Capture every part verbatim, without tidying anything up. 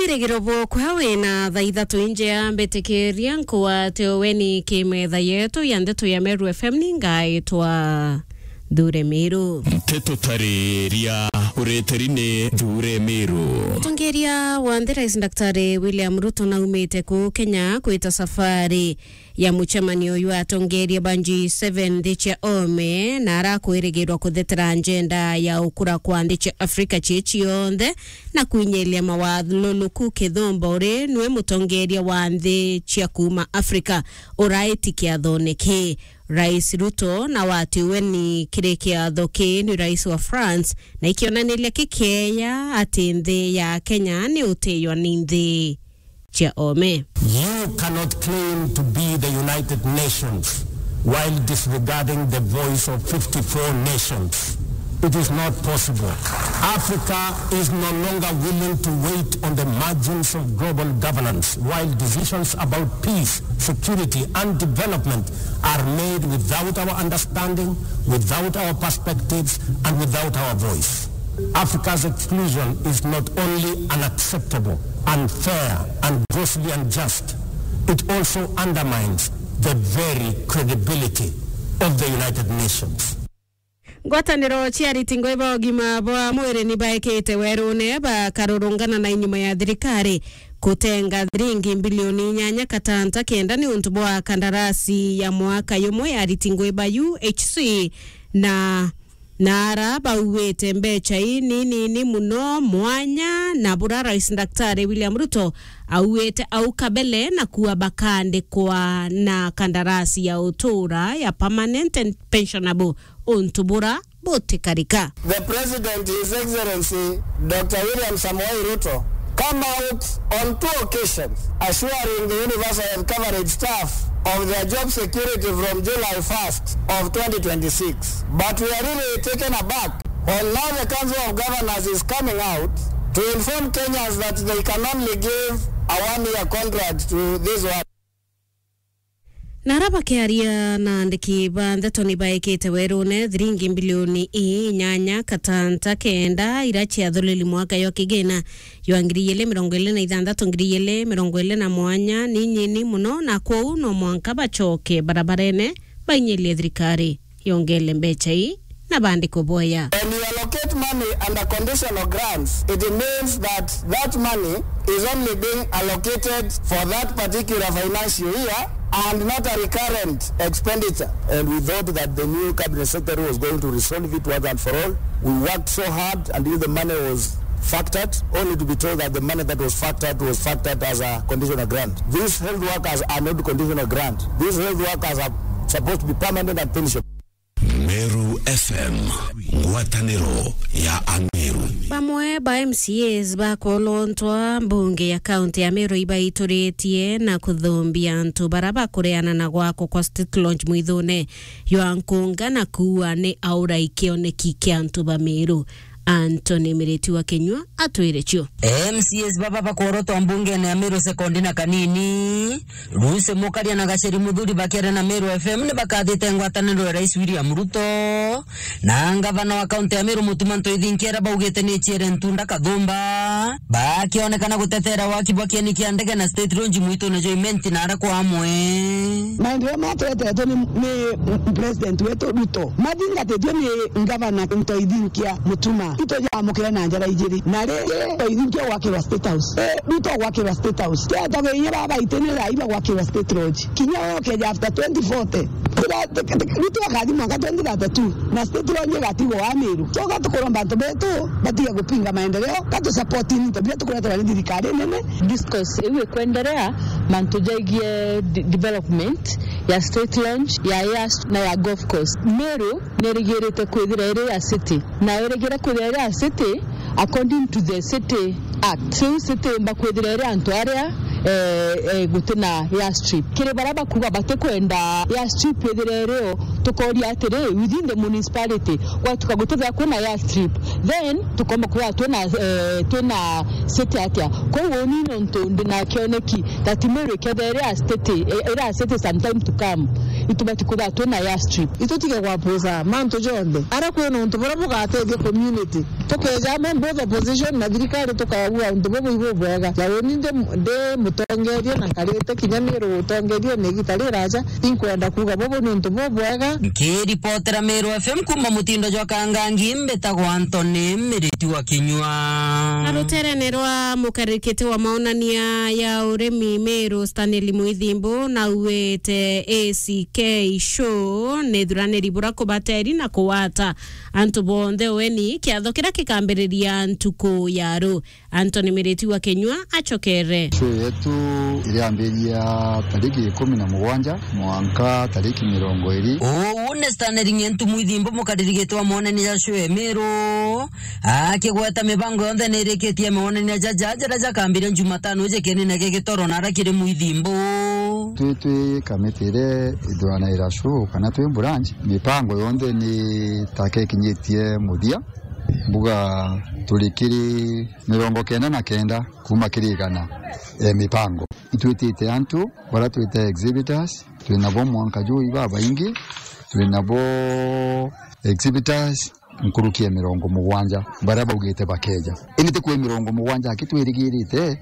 Irigiro bwokwa wina thaa ithatu injea, mbitikiria nkwate weni kimetha yetu ya ndeto ya Meru F M, ningaitwa Nthure Miru. Nteto tariria ureteri ni Nthure Miru. Mutongeria wa nthi Rais Daktari William Ruto naumite kuu Kenya kwita safari ya mucemanio jwa atongeria ba G seven nthi cia ome, na arakwirigirwa kuthetera njenda ya ukura kwa nthi cia Afrika cii cionthe na kwinyiria mawathuruku kithumba uri nwe mutongeria wa nthi cia kuuma Afrika uraiti kiathone kii. Rais Ruto na watiwe ni kiri kiatho kii ni rais wa France, na ikionaniria kikeya ati nthi ya Kenya ni utiywa ni nthi cia ome. You cannot claim to be the United Nations while disregarding the voice of fifty-four nations. It is not possible. Africa is no longer willing to wait on the margins of global governance while decisions about peace, security, and development are made without our understanding, without our perspectives, and without our voice. Africa's exclusion is not only unacceptable, unfair, and grossly unjust, it also undermines the very credibility of the United Nations. Ngwataniro cia ariti ngui ba ugima bwa mwiri ni baikite werune bakarurungana na inyuma ya thirikari kutenga thiringi mbilioni inyanya katanta kenda ni untu bwa kandarasi ya mwaka yumwe ya ariti ngui ba U H C na na ara bauite mbecha ii ni nini muno mwanya na bura Rais Daktari William Ruto auite au kabele na kuwa bakandikwa na kandarasi ya utura ya permanent and pensionable untu bura butikarika. The President, His Excellency Doctor William Samoei Ruto, come out on two occasions assuring the universal health coverage staff of their job security from July first of twenty twenty-six. But we are really taken aback when now the Council of Governors is coming out to inform Kenyans that they can only give a one-year contract to this one. Na ara bakiaria na andiki ba ndeto ni baikite werune thiringi mbilioni inyanya katanta kenda ira ciathuriri mwaka jwa kigina jwa ngiri igiri mirongo iri na ithanthatu, ngiri igiri mirongo iri na mwanya ni nyini muno, na kwou no mwanka bacoke barabarene bainyirie thirikari yongele mbecha ii na bandikwe boya. When you allocate money under conditional grants, it means that that money is only being allocated for that particular financial year and not a recurrent expenditure. And we thought that the new cabinet secretary was going to resolve it once and for all. We worked so hard until the money was factored, only to be told that the money that was factored was factored as a conditional grant. These health workers are not conditional grant. These health workers are supposed to be permanent and pension. Meru F M, ngwataniro ya Ameru. Bamwe ba M C As bakwolontwa mbunge ya kaunti ya Meru ibaituritie na kuthumbia antu bara bakureana na gwakwa kwa State Launch mwithune jwa Nkunga na kuua ni aura ikioneki kia antu ba Meru. Anthony Miriti wa Kinyua atwire cio. M C As baba bakworotwa mbungene ya Meru sekondi na kanini, Lucy Mukaria na Gacheri Muthuri bakiaria na Meru F M ni bakathite ngwataniro ya Rais William Ruto na ngavana wa kaunti ya Meru Mutuma Ntoithinkia aria baugite ni ciere ntunda kathumba, bakionekana gutetera waki bwa kieni kia ndege na State Launch mwitune jwa Imenti na ara kwa amwe. Maendeleo maya twetetwe ni, ni president wetu Ruto, mathingatitue ni ngavana Ntoithinkia Mutuma. Itujamukire na njara ijiri. Na ringi Ntoithinkia gwakirwa State House. Eh, Ruto gwakirwa State House. Twetagwo inya baba itene rai bagwakirwa State Lodge. Kinya okeja after twenty forty. Ruto akathi mwaka twenty thirty-two. Na State Lodge igatigwo wa Meru. So gatukuromba antu betu batige gupinga maendeleo, gatu support into biria tukureterwa ni thirikari nene. Discourse iu ikwenderea mantu jaigie de-, development ya State Launch, ya air na ya golf course. Meru nerigirite kwithira iri ya city, na irigira kwithira iri ya city according to the City Act. Riu city imba kwithira iri antu aria, eh, eh, gutina airstrip. Kiri baria bakuga batikwenda airstrip ithire irio, tukoria atiri, within the municipality, gwatuka gutithira kwina airstrip, then tukomba kuga twina, eh, twina city atia. Koguo ni nontu ndina kioneki that Meru ikethira iri a city, eh, iri a city sometime to come. Itubati kwithirwa twina airstrip. Itutige gwapuza mantu jonthe. Aria kwina untu buria bugatethia community. Tukeja amo both opposition na thirikari tukauga untu bubu ibu bwega. Ja uni ndi, ndi mutongeria na nkarite kinya Miru utongeriene igita riraja, inkwenda kuuga bubu ni untu bubwega. Nkiripotera Miru F M kuuma mutindo jwa Kangangi, mbitagwa Anthony Miriti wa Kinyua. Na ruterene rwa mukarikite wa maonania ya urimi Miru Stanley Mwithimbu, nauite A C K Show ni thuraniri bura kubateri na kuwata antu bonthe weni kiatho kiria kikambiriria ntuku ya ru. Anthony Miriti wa Kinyua acokere. Show yetu iriambiria tariki ikumi na mugwanja mwanka tariki mirongo iri. Uu ni Stanley Ng'entu Mwithimbu, mukaririgitwa monene ja show ya Miru, akigweta mibango yonthe ni irikitie monene jaja jaria jakambiria Jumatano iji kienene gia Gitoro na aria kiri Mwithimbu. Twi, twi kamiti iria ithuranaira show kana twi branch, mibango yonthe ni taka ikinyitie muthia. Mbuga turi kiri mirongo kenda na kenda kuuma kiri igana ya mibango. Itwitite antu baria twita exhibitors, twinabo mwanka juu ibabaingi, twinabo exhibitors nkuruki ya mirongo mugwanja baria baugite bakeja. Indi ti kwi mirongo mugwanja aki twirigirite,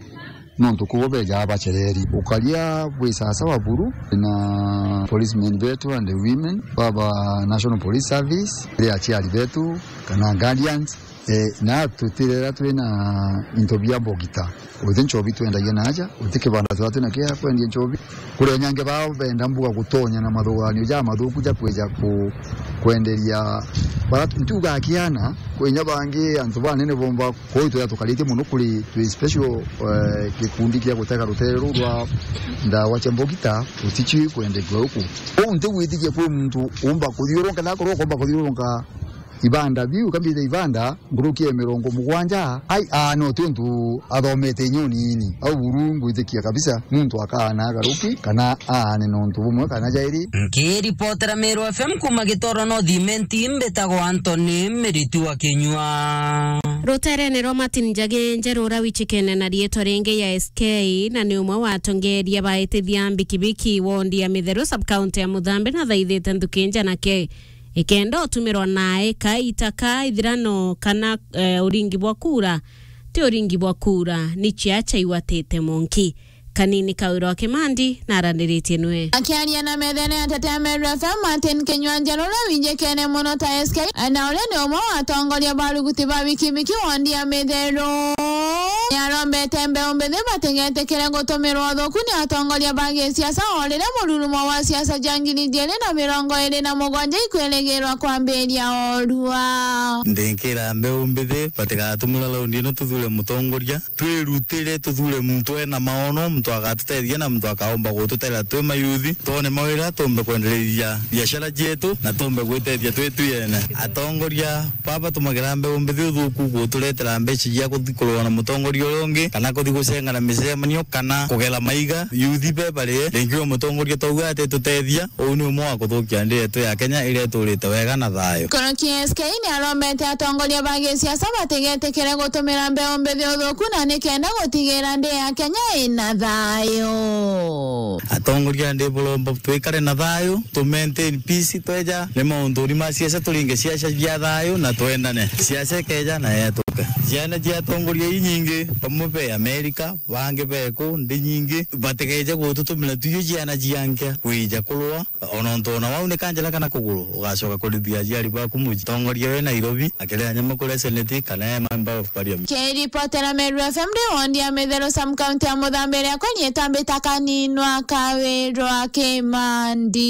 nontu kubo bejaa bacereri. Ukaria bwi sasawa buru na policemen betu and women, baba National Police Service, ri aciari betu kana guardians, eh, na tutirera twina into bia mbogita. Uti nchobi twendagia naja, uti kibanda twa twina kia kwendia nchobi. Kuri onyange bao benda mbuga gutonya na mathuganio ja mathuku ja kwija ku-, kwenderia bara ntuga akiana, kwinya bangi antu banene bomba. Kwou twira tukaritie mono kuri twi special, eh, gikundi kia gutega rutere ruu rwa ndawa cia mbogita, uticii kwenderia uku. Kwou ntigwitikia kwi muntu umba kuthiurunka, na akorwo ukomba kuthiurunka ibanda biu, kambitha ibanda nkuruki ya mirongo mugwanja, ai, aa, no ti untu athomete inya unini. Au buru ngwitikia kabisa, muntu akaana agaruki, kana aane nontu bumwe kana jairi. Nkiripotera Meru F M kuuma Gitoro North Imenti, mbitagwa Anthony Miriti wa Kinyua. Ruterene rwa Martin Njagi Njeru uria wichikene na riitwa ringi ya S K, na ni umwe wa atongeria baitithia mbikibiki wondi ya Mitheru sub-county ya Muthambi, na thaithite nthuki njanake ikenda utumirwa nae ka itaka ithirano kana, eh, uringi bwa kura. Ti uringi bwa kura, ni chia chaiwatite monki. Kanini Kawira wa Kimandi na araniritie nwe. Akiaria na methene ya Tetea Meru F M, Martin Kinyua Njeru uria winjikene mono ta S K, na uria ni umwe wa atongoria ba ruguti ba bikibiki wondi ya Mitheru. Niarombete mbeu mbithi batigetikire gutumirwa uthuku ni atongoria ba gisiasa, o riria mururumo wa siasa ja ngiri ijiri na mirongo iri na mugwanja ikwirigirwa kwambiria orua. Ndinkira mbeu mbithi batigatumira raundi ino tuthure mutongoria, twirutire tuthure muntu ena maono, muntu agatutethia na muntu akaomba gututethia twi mayuthi, twone mawira, tumbe kwendereithia biashara cietu na tumbe gwitethia twi twi ene. Atongoria baba tumagira mbeu mbithi uthuku guturetera mbeca cia kuthi kurua na mutongoria uria ungi, kana kuthi gucengana micemanio, kana kugera maiga. Yuthi be barie, ringi uyu mutongoria twauga atitutethia, uu ni umwe wa kuthukia nthi yetu ya Kenya iria iturite wega na thayu. Nkuruki S K niarombete atongoria ba gisiasa batigetikire gutumira mbeu mbithi uthuku na nikenda gutigira nthi ya Kenya ina thayu. Atongoria ndi buromba twikare na thayu, tu maintain peace, tweja ni maunduri ma siasa, turinge siasa cia thayu na twendane. Siasa ikeja na yetuke. Ciana cia atongoria inyingi, bamwe be Amerika, bangi be ku nthi nyingi, batigeje gututumira tuiyo ciana cia nkia kwija kurua. Ona untu ona wau ni kanjira kana kuguru, ugacoka kurithia aciari baku muji. Tongoria we Nairobi, akiria nyama kuria Senate, kana e Member of Parliament. Kiripotera Meru F M ndi wondi ya Mitheru sub-county ya Muthambi, riakwa ni itambita Kaninwa Kawirwa Kimandi.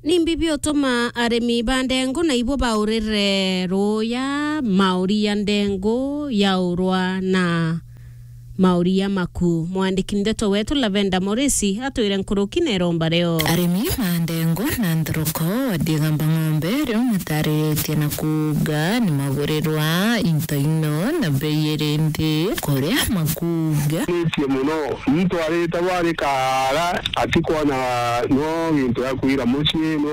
Ni mbibi utuma arimi ba ndengu na ibo baurire ruya, mauri ya ndengu yaurwa na mauri ya maku. Mwandiki ndeto wetu Lavenda Morisi atwire nkuruki na iromba rio. Arimi ma ndengu na nthoroko wa Digamba Ng'ombe rio matariritie na kuuga ni magurirwa into ino na bei iri nthi kuria makuuga. Nitie mono, muntu arite bwari kaara atikwona no gintu ya kwira mucii, no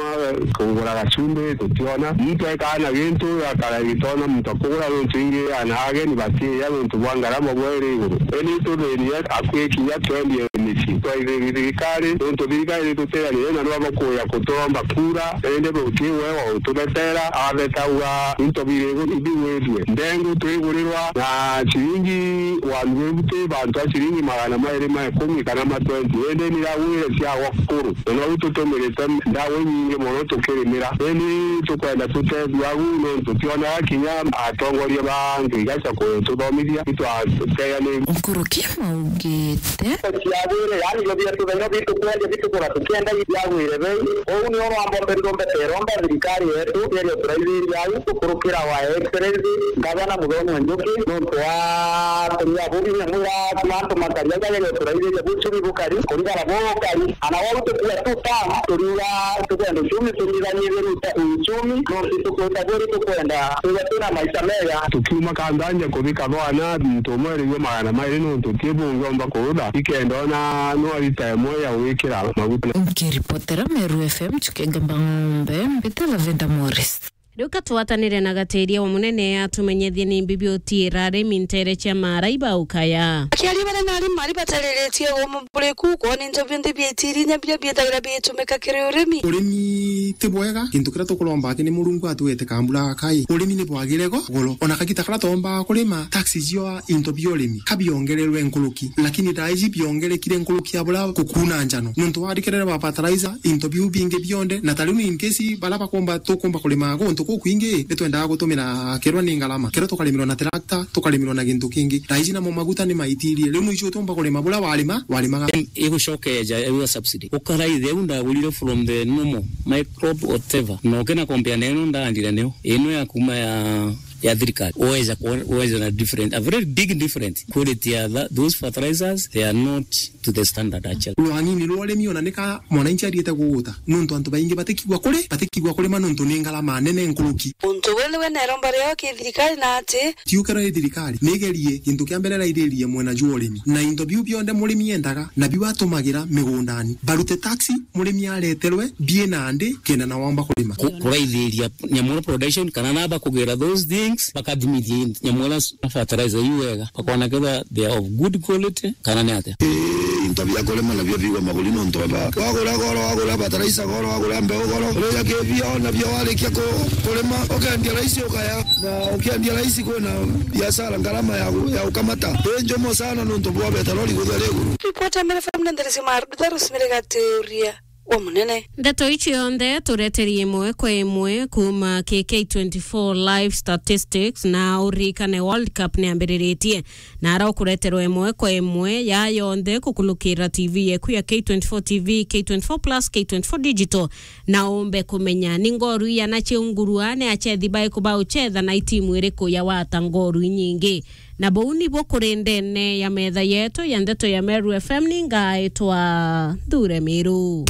kugura gacumbi tutiona. Muntu ekaa na gintu akara gitona muntu akugura nontu ingi ana ageni batiya nontu bwa ngarama bwa iri iguru. Indi tuthini akwikinya twendie micii. Twaithiria thirikari, nontu thirikari nituteanire na nwaba kuya kuturomba kura, indi ruti we wa utubetera, abeta uga into biri igu-, ibigwithue. Ndengu twigurirwa na ciringi one fifty, bantu a ciringi magana mairi ma ikumi kana ma twenty. Indi ni iragwire ciagwa kuru. Na nou tutumirite ndawa inyingi mono tukirimira. Indi tukwenda tutethua agu nontu tionaga kinya atongoria ba antu igaca kututhomithia, itwateganiri. Nkuruki maugite. Ciagwire, yani, ibio bietu beno bitukwendia bitukura tukienda biagwire bei. Uu nio rwambo mbere rumbete iromba thirikari yetu, yeria uturaithiria au, gukurukira wa Excellency Gavana Muthomi wa Njuki, nontu wa kuria bubi nyamwira mantu makari, au ageria uturaithiria buchumi bukari, kurigara bukari. Ana wau tukua tu ta, turiuga tukwenda uchumi, tunyithanyithie uta-, uchumi, nontu tukwenda buri, tukwenda tuga twina maisha mega. Tukiuma Kanthanja kuthi Kathwana, tumwereirue magana mairi nontu ti bungiomba kurutha, ikenda ona no arita imwe ya gwikira maguta. Nkiripotera Meru F M, Chukenga Mbang'ombe, mbita Lavenda Morris. Riu ka twatanire na Gatiria wa Munene atumenyethie ni mbi biutiira arimi ntere cia maaraiba ukaya. Akiaria baria na arimi ari batariritie ugumu buriku, kwona into bionthe bia itiri inya biria biethagira biitumika kiri urimi. Urimi ti bwega, gintu kiria tukuromba aki ni Murungu atwete kambura gakai. Urimi ni bwagire go-, goro. Ona kagita karia twomba kurima, taxi cio into bia urimi ka biongererwe nkuruki, lakini thaa iji biongerekire nkuruki ya buria kukuuna njano. Nontu warikerere ba fertilizer, into biu bingi bionthe, na ta riu in case baria bakomba, tukomba kurima guntu kukwingi, ni twendaga gutumira kerwa ni ngarama. Kerwa tukarimirwa na tractor, tukarimirwa na gintu kingi. Thaa iji namo maguta ni maitirie. Riu noicio utumba kurima buria warima, warimaga. Igucokeja ewa subsidy. Ukaraithe u ndagurire from the normal microbe whatever. Na ukina compare na ino ndaandire niyo. Ino ya kuma ya ya thirikari, uweza kuona, uweza na different, a very big difference. Quality ya tha-, those fertilizers, they are not to the standard actually. Rwang'ini rwa urimi ona nika mwananchi ariete kuguta, nontu antu baingi batikigwa kuri, batikigwa kurima nontu ni ngarama nene nkuruki. Untu bwene we neromba rio ki thirikari na ati. Tiukero i thirikari, nigerie gintu kia mbere rairirie mwena jwa urimi. Na into biu bionthe murimi endaga, na biu atumagira migundani. Barute taxi, murimi areterwe, bie na ndi, kenda na wamba kurima. Ku-, kuraithiria nyamura production, kana naba kugera those things, bakathimithia nyamura na fertilizer iu wega, bakona kethira they are of good quality, kana ni atia. Ii, into bia kurima nabio bigwa maguri nontu baba. Wagura goro, wagura fertilizer goro, wagura mbeu goro. Uria kibio nabio warikia ku-, kurima, ukendia raisi ukaya. Na ukiendia raisi kwina biashara ngarama ya gu-, ya gukamata. Ii njumo sana nontu bwa betaroli kuthia ri iguru. Ripoti ya Meru F M na nderesi ma Rutha Rosemary Gatiuria. Wa munene. Ndeto ici yonthe tureterie imwe kwa imwe kuma ki K twenty-four Live Statistics, na uririkane World Cup ni ambiriritie, na ara ukureterwa imwe kwa imwe ya yonthe kukulukira T V yeku ya K twenty-four T V, K twenty-four Plus, K twenty-four Digital, na umbe kumenya ni ngoru iana ciungurua, ni achethi baiku bauchetha, na itimu iriku yawata ngoru inyingi. Na buu nibuo kuri ndene ya metha yetu ya ndeto ya Meru F M, ni ngaitwa Nthure Miru.